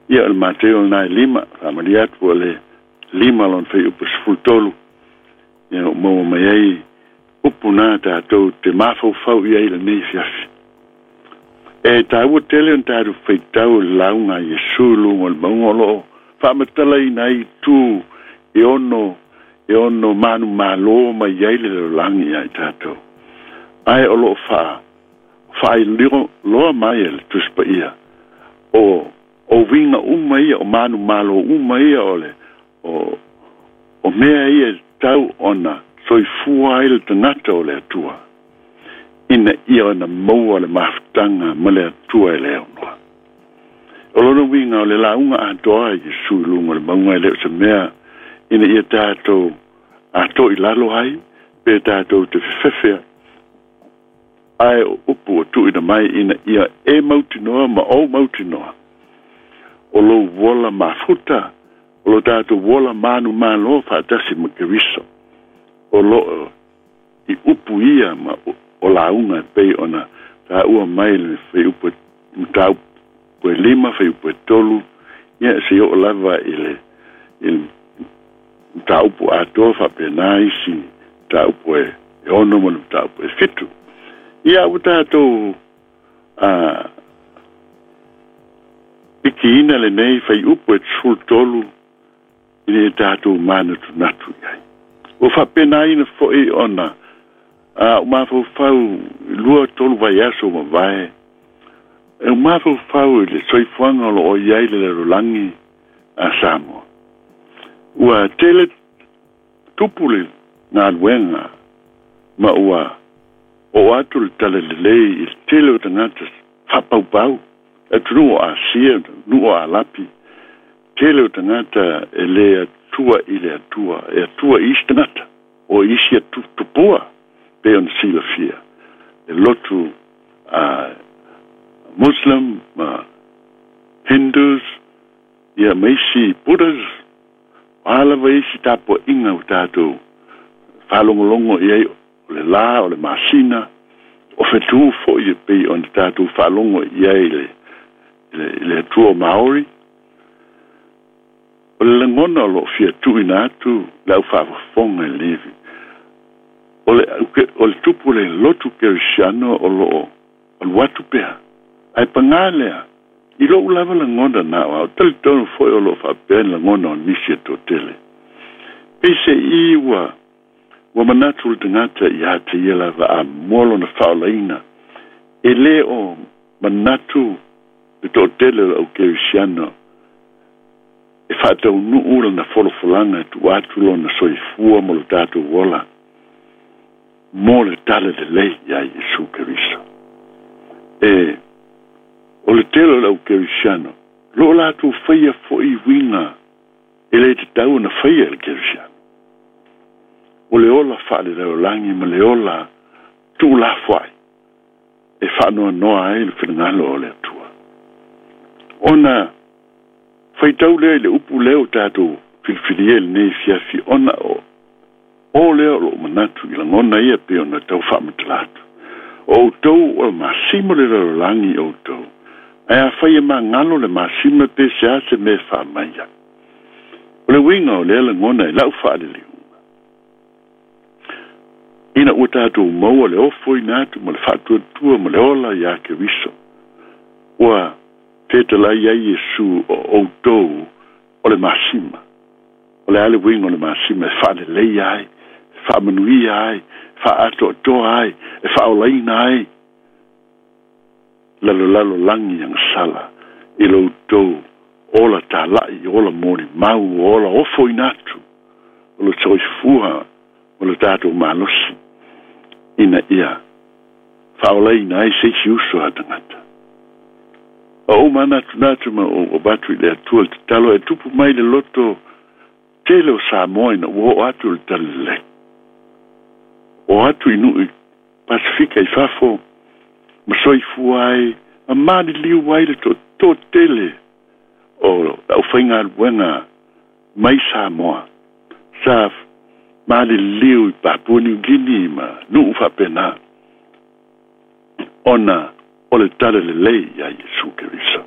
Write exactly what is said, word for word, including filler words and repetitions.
Ia o le Mateo lena e lima, faamalie atu o le lima lona fuaiupu sefulu tolu, ia ua maua mai ai upu na tatou te mafaufau i ai i lenei afiafi. E taua tele ona tatou faitau i le lauga a Iesu i luga o le mauga o loo faamatalaina ai itu e ono e ono manumalo mai ai le lalolagi ia i tatou. Ae o loo faa faailoa mai e le Tusi Paia o o uiga uma ia, o manumalo uma ia, o le o o mea ia e tau ona soifua ai le tagata o le Atua, ina ia ona maua le mafutaga ma le Atua e le aunoa. O lona uiga o le lauga atoa a Iesu i luga o le mauga e le o se mea ina ia tatou ato i lalo ai, pe tatou te fefefe ai. Ae o upu ua tuuina mai ina ia e mautinoa ma ou mautinoa, o lou ola mafuta, o lo tatou ola manumalo faatasi ma Keriso, o loo i upu ia ma o lauga e pei ona taua mai le fuaiupu mataupu e lima, fuaiupu e tolu, ia se oo lava i le i le mataupu atoa faapena isi mataupu e e ono ma le mataupu e fitu. Ia ua tatou a pikiina lenei fuaiupu e sefulu tolu ina ia tatou manatunatu i ai. Ua faapenaina foi ona a o mafaufau lua tolu vaiaso mavae, e o mafaufau i le soifuaga o loo i ai le lalolagi a Samoa. Ua tele tupu le galuega ma ua oo atu le talalelei i le tele o tagata faapaupau, atunuu o Asia, atunuu o Alapi, tele o tagata e le Atua i le Atua, e Atua i isi tagata o isi tupua, pe ona silafia le lotu a Muslim ma Hindus, ia ma isi Buddhas, o a lava isi tapuaiga ua tatou faalogologo i ai, o le lā, o le masina, o fetu foi e pei ona tatou faalogo i ai i le, le, le Atua o Maori. O le lagona o loo fia tuuina atu le au faafofoga i Levi, o le, o le tupu le lotu kerisiano o loo alu atu pea. Ae pagā lea, i lou lava lagona na o au, talitonu foi o loo faapea ni lagona o nisi e toatele. Peiseai ua ua manatu le tagata ia te ia lava a mua lona faaolaina, e lē o manatu le toatele o le au kerisiano e faataunuu lana folafolaga e tuu atu lona soifua mo lo tatou ola mo le talalelei iā Iesu Keriso. E o le tele o le au kerisiano loo latou faia foi uiga e lē tatau ona faia e le kerisiano. O le ola faalelalolagi ma le ola tuulafoai e faanoanoa ai le finagalo o le Atua. Ona faitau lea i le upu lea o tatou filifilia i lenei afiafi, ona o o lea o loo manatu i lagona ia pei ona tau faamatala atu. O outou o le masima o le lalolagi outou, ae afai e magalo le masima, pe se a se mea faamai ai. O le uiga o lea lagona e lau faaliliuga, ina ua tatou maua le ofoina atu ma le faatuatua ma le ola iā Keriso, ua fetalai ai Iesu o outou o le masima. O le a le uiga o le masima? E faaleleia ai, e faamanuia ai, e faaatoatoa ai, e faaolaina ai lalolalo lagi agasala i lo outou ola talai, ola molimau, ola ofoina atu o le soifua o le tatou malosi, ina ia faaolaina ai se isi uso a tagata. O ou manatunatu ma ou avatu i le Atua le tatalo e tupu mai le loto tele o Samoa ina ua oo atu le talalelei, o atu i nuu i Pasifika i fafo ma soifua ai ma maliliu ai le toatele o le aufaigaluega mai Samoa sa maliliu i Papua New Guinea ma nuu faapena, ona o le talalelei iā Iesu Keriso.